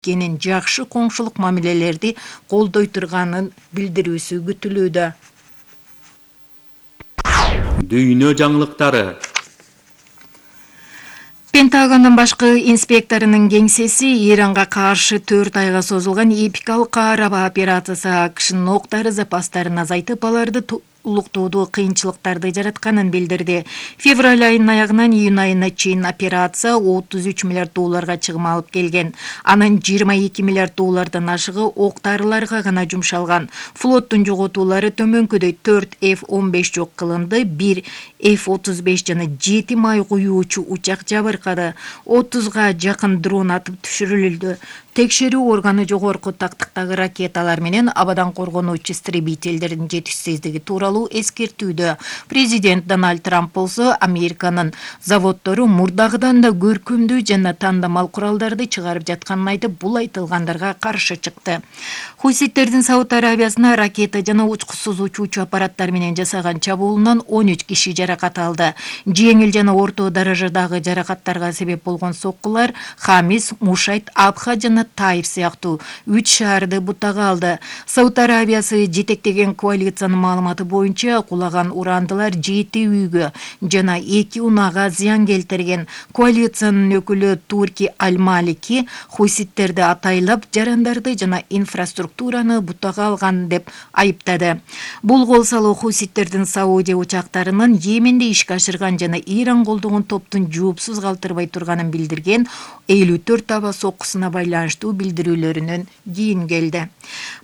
экенин, жакшы коңшулук мамилелерди колдой турганын билдирүүсү күтүлүүдө. Дүйнө жаңылыктары. Пентагондун башкы инспекторунун кеңсеси Иранга каршы 4 айга созулган эпикалык каарабаа операциясы АКШнын октары запастарын азайтып, аларды улуктоодо кыйынчылыктарды жаратканын билдирди. Февраль айынын аягынан июнь айына чейин операция 33 миллиард долларга чыгым алып келген. Анын 22 миллиард доллардан ашыгы октарыларга гана жумшалган. Флоттун жоготуулары төмөнкүдөй: 4 F-15 жок кылынды, 1 F-35 жана 7 май куюучу учак жабыркады. 30га жакын дрон атып түшүрүлдү. Текшерүү органы жогорку тактыктагы ракеталар менен абадан коргонуучу истребительдердин жетишсиздиги тууралуу эскертүүдө. Президент Дональд Трамп болсо Американын заводдору мурдагыдан да көркөмдүү жана тандамал куралдарды чыгарып жатканын айтып, бул айтылгандарга каршы чыкты. Хуситтердин Сауд Арабиясына ракета жана учкусуз учуучу аппараттар менен жасаган чабуулунан 13 киши жаракат алды. Жеңил жана орто даражадагы жаракаттарга себеп болгон соккулар Хамис, Мушайт, Абха жана Таир сыяктуу 3 шаарды бутага алды. Сауд Арабиясы жетектеген коалициянын маалыматы боюнча кулаган урандылар 7 үйгө жана 2 унаага зыян келтирген. Коалициянын өкүлү Турки Аль-Малики хуситтерди атайлап жарандарды жана инфраструктураны бутага алган деп айыптады. Бул кол салуу хуситтердин Саудия учактарынын Йеменде ишке ашырган жана Иран колдогон топтун жоопсуз калтырбай турганын билдирген 54 аба соккусуна байланыштуу билдирүүлөрүнөн кийин келди.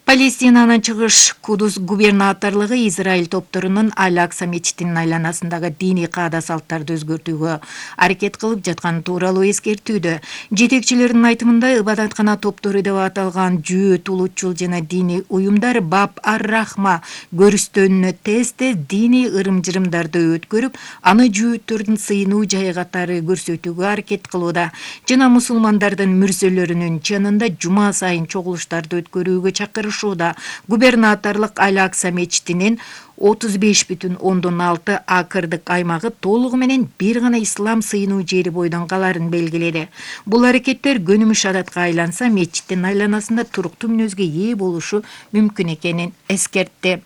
Палестинанын чыгыш Кудус губернаторлугу Израиль топторунун Аль-Акса мечитинин айланасындагы диний каада салттарды өзгөртүүгө аракет кылып жатканы тууралуу эскертүүдө. Жетекчилердин айтымында, ибадаткана топтору деп аталган жүйөт, улутчул жана диний уюмдар Баб ар-Рахма көрүстөнүнө тез-тез диний ырым-жырымдарды өткөрүп, аны жүйөттөрдүн сыйынуу жайы катары көрсөтүүгө аракет кылууда жана мусулмандардын мүрзөлөрүнүн чынында жума сайын чогулуштарды өткөрүүгө чакырышууда. Губернаторлук Аль-Акса мечитинин 35,6 акырдык аймагы толугу менен бир гана ислам сыйынуу жери бойдон каларын белгиледи. Бул аракеттер көнүмүш адатка айланса, мечиттин айланасында туруктуу мүнөзгө ээ болушу мүмкүн экенин эскертти.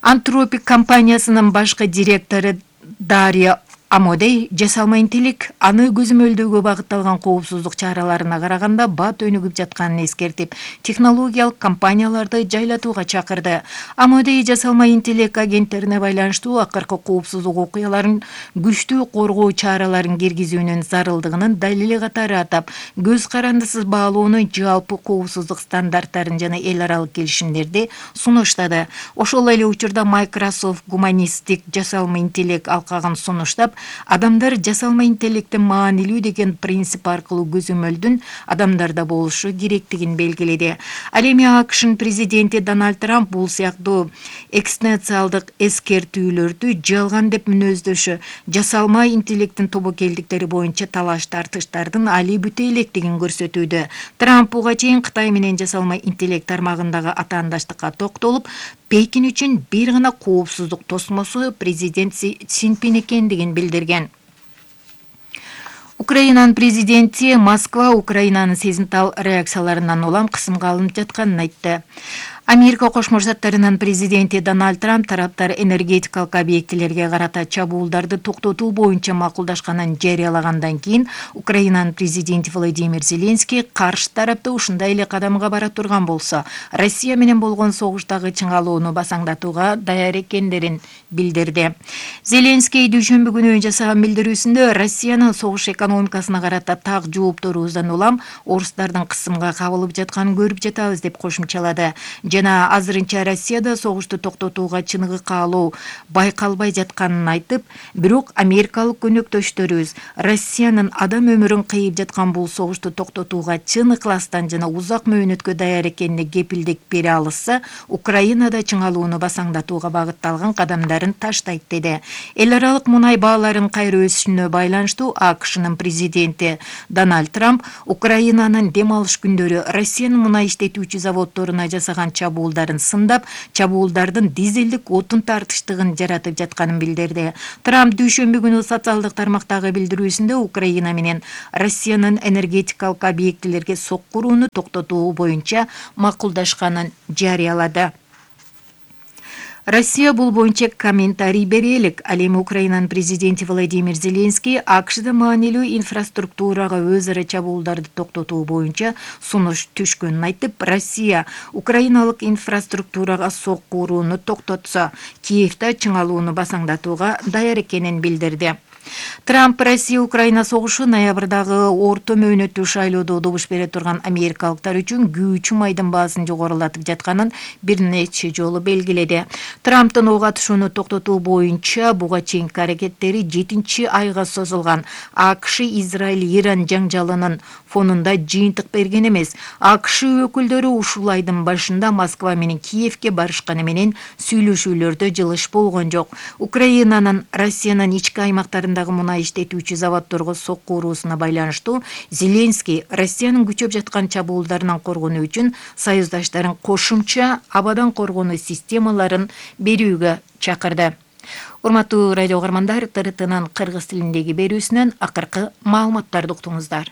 Антропик компаниясынын башкы директору Дарья Амодей жасалма интеллект аны көзөмөлдөөгө багытталган коопсуздук чараларына караганда бат өнүгүп жатканын эскертип, технологиялык компанияларды жайлатууга чакырды. Амодей жасалма интеллект агенттерине байланыштуу акыркы коопсуздук окуяларын күчтүү коргоо чараларын киргизүүнүн зарылдыгынын далили катары атап, көз карандысыз баалоону, жалпы коопсуздук стандарттарын жана эл аралык келишимдерди сунуштады. Ошол эле учурда Microsoft гуманисттик жасалма интеллект алкагын сунуштап, адамдар жасалма интеллекттин маанилүү деген принцип аркылуу көзөмөлдүн адамдарда болушу керектигин белгиледи. Ал эми АКШнын президенти Дональд Трамп бул сыяктуу экстенциалдык эскертүүлөрдү жалган деп мүнөздөшү, жасалма интеллекттин тобокелдиктери боюнча талаш тартыштардын али бүтө электигин көрсөтүүдө. Трамп буга чейин Кытай менен жасалма интеллект тармагындагы атаандаштыкка токтолуп, Пекин үчүн бир гана коопсуздук тосмосу президент Си Цзиньпин экендигин билдирген. Украинанын президенти Москва Украинанын сезимтал реакцияларынан улам кысымга алынып жатканын айтты. Америка Кошмо Штаттарынын президенти Дональд Трамп тараптар энергетикалык объектилерге карата чабуулдарды токтотуу боюнча макулдашканын жарыялагандан кийин Украинанын президенти Владимир Зеленский каршы тарапта ушундай эле кадамга бара турган болсо, Россия менен болгон согуштагы чыңалууну басаңдатууга даяр экендерин билдирди. Зеленский дүйшөмбү күнү жасаган билдирүүсүндө Россиянын согуш экономикасына карата так жоопторубуздан улам орустардын кысымга кабылып жатканын көрүп жатабыз деп кошумчалады. Жана азырынча Россияда согушту токтотууга чыныгы каалоо байкалбай жатканын айтып, бирок америкалык көнөктөштөрүбүз Россиянын адам өмүрүн кыйып жаткан бул согушту токтотууга чын ыкластан жана узак мөөнөткө даяр экенине кепилдик бере алышса, Украинада чыңалууну басаңдатууга багытталган кадамдарын таштайт деди. Эл аралык мунай бааларынын кайра өсүшүнө байланыштуу АКШнын президенти Дональд Трамп Украинанын дем алыш күндөрү Россиянын мунай иштетүүчү заводдоруна жасаган чабуулдарын сындап, чабуулдардын дизелдик отун тартыштыгын жаратып жатканын билдирди. Трамп дүйшөмбү күнү социалдык тармактагы билдирүүсүндө Украина менен Россиянын энергетикалык объектилерге соккурууну токтотуу боюнча макулдашканын жарыялады. Россия бул боюнча комментарий бере элек. Ал эми Украинанын президенти Владимир Зеленский АКШда маанилүү инфраструктурага өз ара чабуулдарды токтотуу боюнча сунуш түшкөнүн айтып, Россия украиналык инфраструктурага соккурууну токтотсо, Киевде чыңалууну басаңдатууга даяр экенин билдирди. Трамп Россия-Украина согушу ноябрдагы орто мөөнөттүү шайлоодо добуш бере турган америкалыктар үчүн күйүүчү майдын баасын жогорулатып жатканын бир нече жолу белгиледи. Трамптын ого атышууну токтотуу боюнча буга чейинки аракеттери 7-айга созулган. АКШ Израиль-Иран жаңжалынын фонунда жыйынтык берген эмес. АКШ өкүлдөрү ушул айдын башында Москва менен Киевге барышканы менен сүйлөшүүлөрдө жылыш болгон жок. Украинанын Россиянын ички аймактарындагы мунай иштетүүчү заводдорго соккуруусуна байланыштуу Зеленский Россиянын күчөп жаткан чабуулдарынан коргонуу үчүн союздаштарын кошумча абадан коргонуу системаларын берүүгө чакырды. Урматтуу радио угармандар, ТРТнын кыргыз тилиндеги берүүсүнөн акыркы маалыматтарды уктуңуздар.